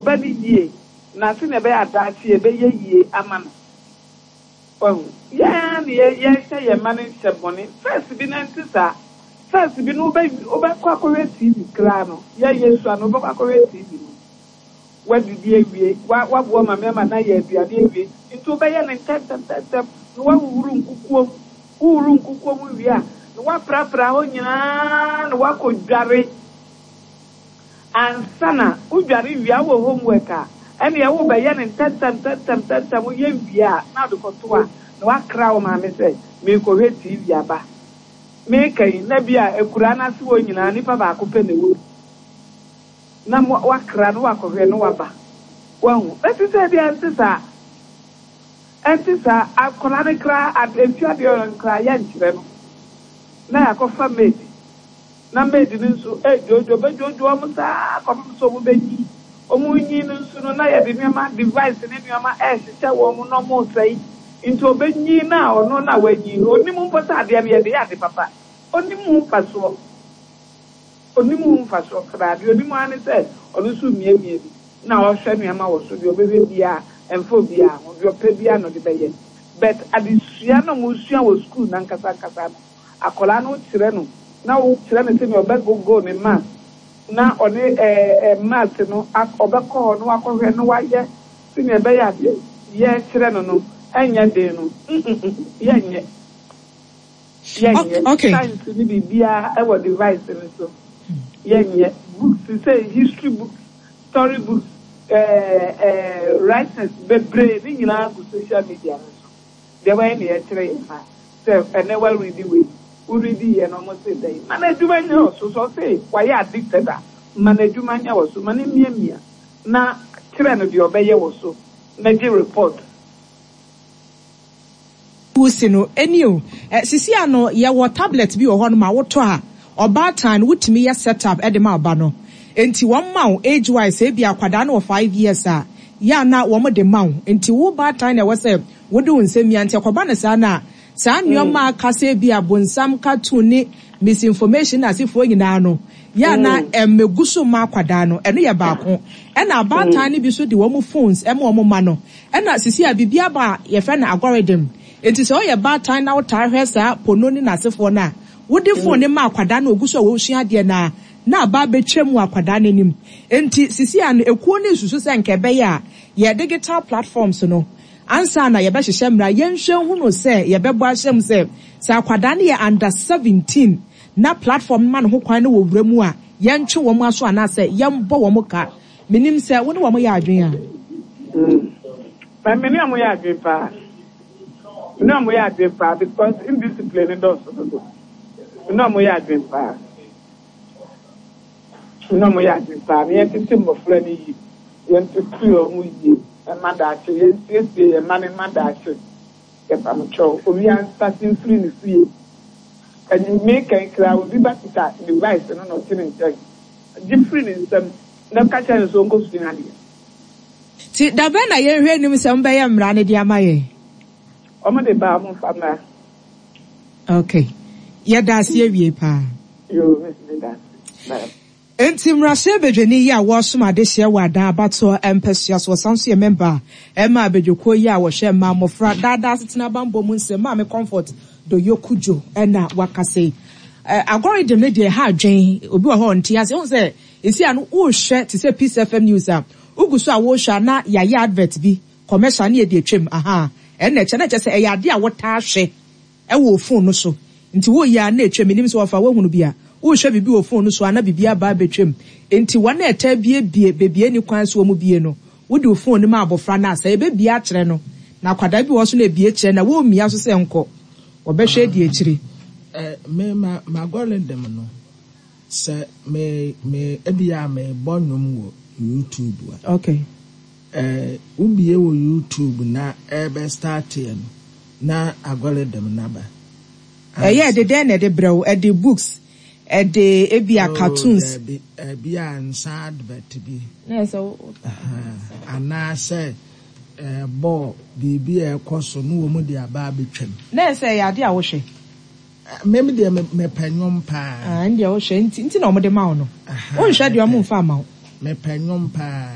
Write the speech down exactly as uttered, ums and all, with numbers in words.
ba no yie na sɛnea ɛbɛyɛ adaakye ɛbɛyɛ yie ama no. Wahu? Yɛn ara na yɛ yɛhyɛ yɛn mma no nhyɛ bɔne. First bi no ɛnte saa. First bi no wobɛ wobɛkɔ akɔhwɛ T V koraa no, yɛ yɛsua no, wobɛkɔ akɔhwɛ T V no, woadidi awie, wa waboa maame ama no ayɛ aduane awie, nti wobɛyɛ no ntɛmntɛmntɛm na woahuhuru nkukuom. Wohuru nkukuom wie a, na woaprapra hɔ nyinaa na woakɔ dware. Ansa na wodware wie a, wowɔ homework a, ɛneɛ wobɛyɛ no ntɛmntɛmntɛmntɛm. Woyɛ wie a, na wode kɔto a, na woakra wo maame sɛ meekɔhwɛ T V aba. Meeka yi na bi a akuraa no ase wɔ nyinaa nipa baako pɛ na ɛwɔ bi na wakra no, wakɔhwɛ no, waba. Wahu bɛsi sɛ bi ɛnte saa, ɛnte saa. Akwadaa no koraa, efi adeɛ no koraa yɛnkyerɛ no na yɛakɔfa maid, na maid no nso edwodwo, bɛdwodwo wɔn saa kɔpem sɛ wɔn bɛnyi. Wɔn nyi no nso no, na yɛde nneɛma, device ne nneɛma ɛrehyehyɛ wɔn na wɔn resɛe. Nti ɔbɛnyi na ɔno na wanyi no, onim mpo sɛ adeɛ no yɛde yɛ ade papa. Onim ho mfasoɔ, onim ho mfasoɔ koraa. Deɛ onim ara ne sɛ ɔno nso mmiamia bi na ɔhwɛ nneɛma wɔ so. Deɛ ɔbɛhwɛ biara ɛmfa obiara ho, deɛ ɔpɛ biara na ɔde bɛyɛ. But adesua na ɔmo sua wɔ sukuu nankasa nkasa no, akwadaa no kyerɛ no na wokyerɛ no sɛnea ɔbɛgogo ne math na ɔne ɛɛ ɛɛ math no, ɔbɛkɔ hɔ na wakɔhwɛ na wayɛ sɛnea ɛbɛyɛ adeɛ yɛkyerɛ no no ɛnyɛ den no mm yɛnyɛ yɛnyɛ. Okay. Science ne biribiara ɛwɔ device no so. Yɛnyɛ books sɛ history books, story books, ɛɛ ɛɛ writings bebree ne nyinaa gu social media no so. Deɛ wɔyɛ ne yɛkyerɛ yɛn ma sɛ ɛnɛ wɔredi wei, woredi yɛ no, ɔmo se dɛn ma n'adwuma nyɛ wɔ so. So ɔse wayɛ addicted a, ma n'adwuma nyɛ wɔ so, ma ne miamia na kyerɛ no deɛ ɔbɛyɛ wɔ so na gye report. Wusi no ɛni o ɛ sisi ano yɛwɔ tablet bi wɔ hɔ nom a wotɔ a, ɔbaatan no wotumi yɛ set up ɛde ma ɔba no. Nti wɔn ma wo age wise, ebi akwadaa no wɔ five years a, yɛ ana wɔn de ma wo. Nti wo baatan na ɛwɔ sɛ wode wo nsɛm mia. Nti ɛkɔba no saa na saa nneɛma akasa bi a bonsam cartoon ne misinformation na asefoɔ nyinaa no, yɛ ana ɛmɛgu so ma akwadaa no. Ɛno yɛ baako. Ɛna abaatan no bi so de wɔn phones ɛma wɔn ma no. Ɛna sisi a biribi aba a yɛfrɛ no algorithm. Nti sɛ ɔyɛ baatan na wotaa hwɛ saa pono ne n'asefoɔ no a, wode phone ne ma akwadaa no ogu so a wɔresua adeɛ na na aba abɛtwa mu akwadaa n'anim. Nti sisi a no, ekuo no nsusu sɛ nka ɛbɛyɛ a yɛ digital platforms no, ansa na yɛbɛhyehyɛ mmara, yɛnhwɛ hunu sɛ yɛbɛbɔ ahyɛ mu sɛ sɛ akwadaa no yɛ under seventeen na platform no ma ne ho kwan no wɔ wura mu a, yɛntwe wɔn aso anaasɛ yɛmbɔ wɔn ka. Menim sɛ wo ne wɔn yɛ adwene a. Me ne ɔmo yɛ adwene paa, me ne ɔmo yɛ adwene paa because indiscipline dɔɔso dodo. Me ne ɔmo yɛ adwene paa, me ne ɔmo yɛ adwene paa na yɛntete mmɔfra no yie, yɛntete ɔmo yie ɛma daakye, yɛnsiesie yɛn mma no ma daakye. Yɛpamkyɛw, obi ansase mfiri ne fie. Ɛni meka kra obi ba kita device no na ɔte ne nkyɛn, gye firi ne nsam na ka kyerɛ no sɛ ɔnkɔ sua adeɛ. Nti dabɛn na yɛnhwɛ anim sɛ mbɛyɛ mmara no de ama yɛn? Ɔmo de ba, ɔmo nfa mmra. Okay, yɛda ase awie paa. Yoo, miss, mi da ase. Bye. Nti mmarahyɛ badwani yi a wɔresom adehyeɛ wɔ Adan abatoɔ mpɛsua so, wɔsan so yɛ member ɛma abadwakuo yi a wɔhwɛ mmaa, mmɔfra, daadaa asetena bambɔ mu nsɛm, Maame Comfort Doyoe Cudjoe, ɛna wakasa yi. Ɛ algorithm no deɛ, ha adwen obi wɔ hɔ ɔnte ase. Ohun sɛ esi ano wohwɛ te sɛ Peace F M news a, wogu so a wohwɛ a, na yɛayɛ advert bi, commercial ne yɛde atwam aha. Ɛna ɛkyɛ na kyɛ sɛ ɛyɛ ade a wɔtaa hwɛ ɛwɔ phone no so. Nti woyɛ a na atwam. Enim sɛ wɔfa wohunu bi a, wohwɛ biribi wɔ phone no so a, na biribi aba abɛtwam. Nti wɔn a ɛtaa biebie beebie ni kwan so wɔn bie no, wode wo phone no ma abɔfra no a, sɛ ebɛbie akyerɛ no na akwadaa bi wɔ so na ebie kyerɛ na wɔmmia so sɛ nkɔ, wɔbɛhwɛ di akyire. Eh, me ma ma algorithm no sɛ me me ebi a me bɔ nnwom wɔ YouTube a, okay eh, wobie wɔ YouTube na ɛbɛ start yɛ no na algorithm naba. Ɛyɛ ɛde dɛn na ɛde brɛ wo? Ɛde books, ɛde ebi a Oh, cartoons? Dabi, ebi a nsa advert bi. Na ɛsɛ wo Aha, anaasɛ eh, bɔɔl biribi a ɛkɔ so no wɔ mu de aba abɛtwam. Na ɛsɛ ɛyɛ ade a wohwɛ. Eh, me me deɛ me mepɛ nnwom paa. Ah, ɛn deɛ wohwɛ nti nti na ɔmo de ma wo no. Aha, wonhwɛ deɛ ɔmo mepɛ- mfa ama wo. Mepɛ nnwom paa.